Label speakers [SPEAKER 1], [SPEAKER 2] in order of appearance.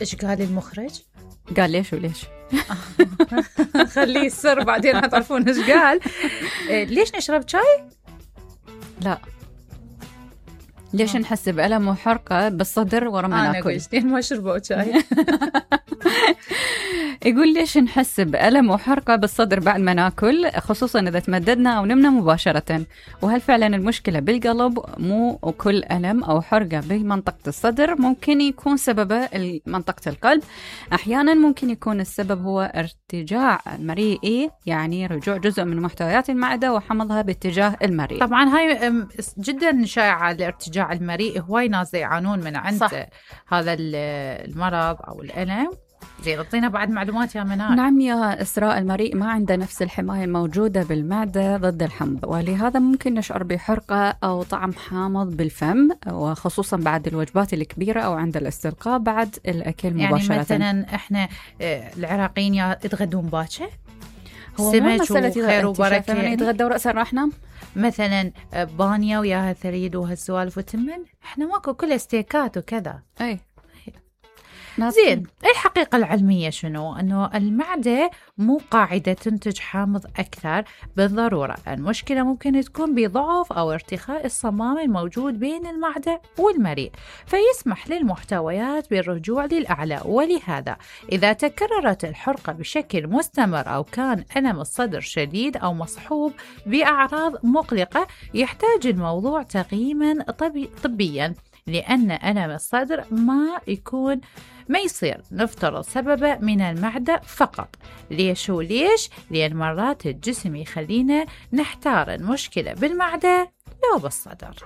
[SPEAKER 1] إيش قال المخرج؟
[SPEAKER 2] قال ليش وليش؟
[SPEAKER 1] خليه السر بعدين هتعرفون إيش قال. ليش نشرب شاي؟
[SPEAKER 2] لا، ليش نحس بألم وحرقة بالصدر ورا ما ناكل؟
[SPEAKER 1] أنا قلت ما شربوا شاي.
[SPEAKER 2] يقول ليش نحس بألم وحرقة بالصدر بعد ما ناكل، خصوصا إذا تمددنا أو نمنا مباشرة، وهل فعلا المشكلة بالقلب مو كل ألم أو حرقة بمنطقة الصدر؟ ممكن يكون سببه منطقة القلب، أحيانا ممكن يكون السبب هو ارتجاع مريئي، يعني رجوع جزء من محتويات المعدة وحمضها باتجاه المريء.
[SPEAKER 1] طبعا هاي جدا شائعة الارتجاع المريئي، هواي ناس يعانون من عند هذا المرض أو الألم. زين، اعطينا بعد معلومات يا منال.
[SPEAKER 2] نعم يا إسراء، المريء ما عنده نفس الحماية الموجودة بالمعدة ضد الحمض، ولهذا ممكن نشعر بحرقة أو طعم حامض بالفم، وخصوصا بعد الوجبات الكبيرة أو عند الاستلقاء بعد الأكل مباشرة.
[SPEAKER 1] يعني مثلا إحنا العراقيين يتغدون باكر،
[SPEAKER 2] هو
[SPEAKER 1] سمك
[SPEAKER 2] وخير
[SPEAKER 1] وبركة،
[SPEAKER 2] يعني يتغدى ورأسا راح نام
[SPEAKER 1] مثلا بانيا وياها ثريد وهالسوالف وتمن. إحنا ماكو كل ستيكات وكذا.
[SPEAKER 2] أي
[SPEAKER 1] زين، الحقيقة العلمية شنو؟ أنه المعدة مو قاعدة تنتج حامض أكثر بالضرورة. المشكلة ممكن تكون بضعف أو ارتخاء الصمام الموجود بين المعدة والمريء، فيسمح للمحتويات بالرجوع للأعلى. ولهذا إذا تكررت الحرقة بشكل مستمر أو كان ألم الصدر شديد أو مصحوب بأعراض مقلقة، يحتاج الموضوع تقييما طبيا، لأن ألم الصدر ما يصير نفترض سببه من المعدة فقط. ليش وليش؟ لأن مرات الجسم يخلينا نحتار المشكلة بالمعدة لو بالصدر.